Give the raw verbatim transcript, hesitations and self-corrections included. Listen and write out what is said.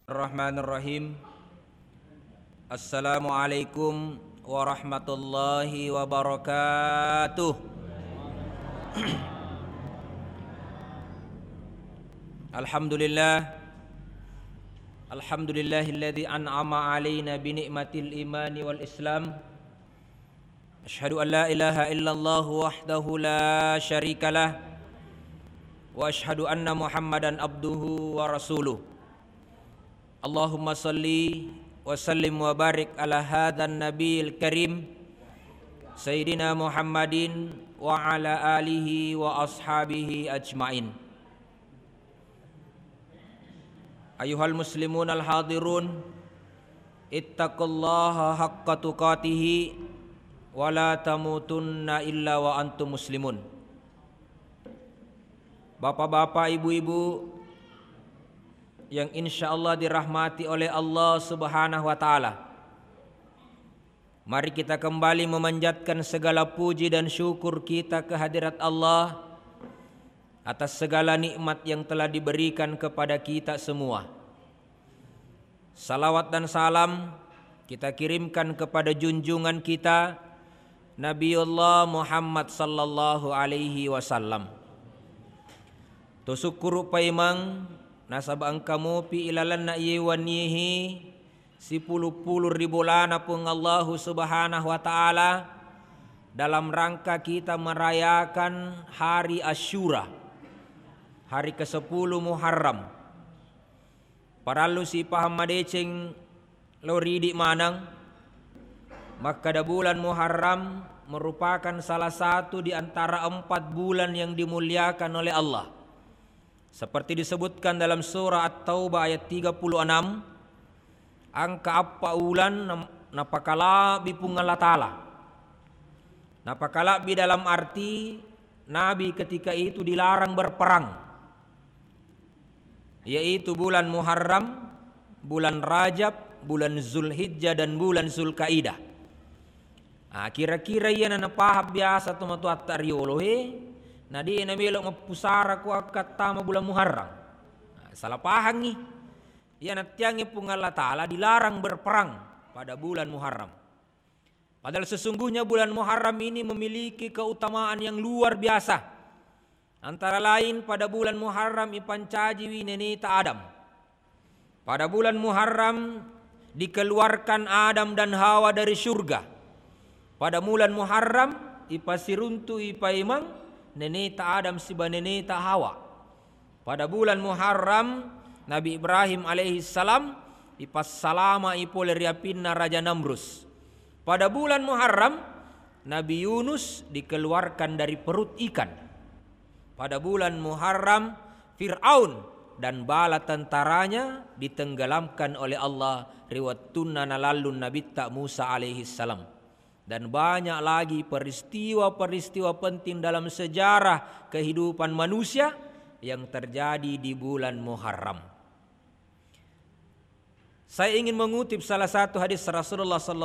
Bismillahirrahmanirrahim. Assalamualaikum warahmatullahi wabarakatuh. Alhamdulillah. Alhamdulillahilladzi an'ama alaina bi ni'matil imani wal islam. Asyhadu an la ilaha illallah wahdahu la syarikalah. Wa asyhadu anna Muhammadan abduhu wa rasuluh. Allahumma salli wa sallim wa barik ala hadzan nabiyil karim, Sayyidina Muhammadin wa ala alihi wa ashabihi ajmain. Ayuhal muslimun al hadirun, ittaqullaha haqqa tuqatihi wa la tamutunna illa wa antum muslimun. Bapak-bapak, ibu-ibu yang insya Allah dirahmati oleh Allah Subhanahu wa Ta'ala, mari kita kembali memanjatkan segala puji dan syukur kita ke hadirat Allah atas segala nikmat yang telah diberikan kepada kita semua. Salawat dan salam kita kirimkan kepada junjungan kita, Nabiullah Muhammad sallallahu alaihi wasallam. Tusukkuru paimeng nasaba engka mupi ilalenna iye wennihi sipulu-pulu ri bolana Puang Allahu Subhanahu wa Ta'ala dalam rangka kita merayakan hari Asyura, hari kesepuluh Muharram. Parellu sipahang madeceng lao ridi maneng, makkeda bulan Muharram merupakan salah satu di antara empat bulan yang dimuliakan oleh Allah. Seperti disebutkan dalam surah At-Taubah ayat tiga puluh enam, engka eppa ulan na-, napakalabbi Puang Allah Ta'ala. Napakalabbi dalam arti Nabi ketika itu dilarang berperang, yaitu bulan Muharram, bulan Rajab, bulan Zulhijjah, dan bulan Zulkaidah. Ah, kira-kira iyana napahang biasa tomatoatta riolo e, na de' namelo mappusara ko akkattama bulan Muharram. Ah, salah pahangngi. Iya nattiangngi Puang Allah Ta'ala dilarang berperang pada bulan Muharram. Padahal sesungguhnya bulan Muharram ini memiliki keutamaan yang luar biasa. Antara lain, pada bulan Muharram ipancajiwi neneta Adam. Pada bulan Muharram dikeluarkan Adam dan Hawa dari surga. Pada bulan Muharram ipasiruntu ipaimeng neneta Adam siba neneta Hawa. Pada bulan Muharram, Nabi Ibrahim alaihissalam ipassalama'i pole ri apinna Raja Namrus. Pada bulan Muharram, Nabi Yunus dikeluarkan dari perut ikan. Pada bulan Muharram, Fir'aun dan bala tentaranya ditenggelamkan oleh Allah ri wettunna nalallung Nabitta Musa alaihissalam. Dan banyak lagi peristiwa-peristiwa penting dalam sejarah kehidupan manusia yang terjadi di bulan Muharram. Saya ingin mengutip salah satu hadis Rasulullah sallallahu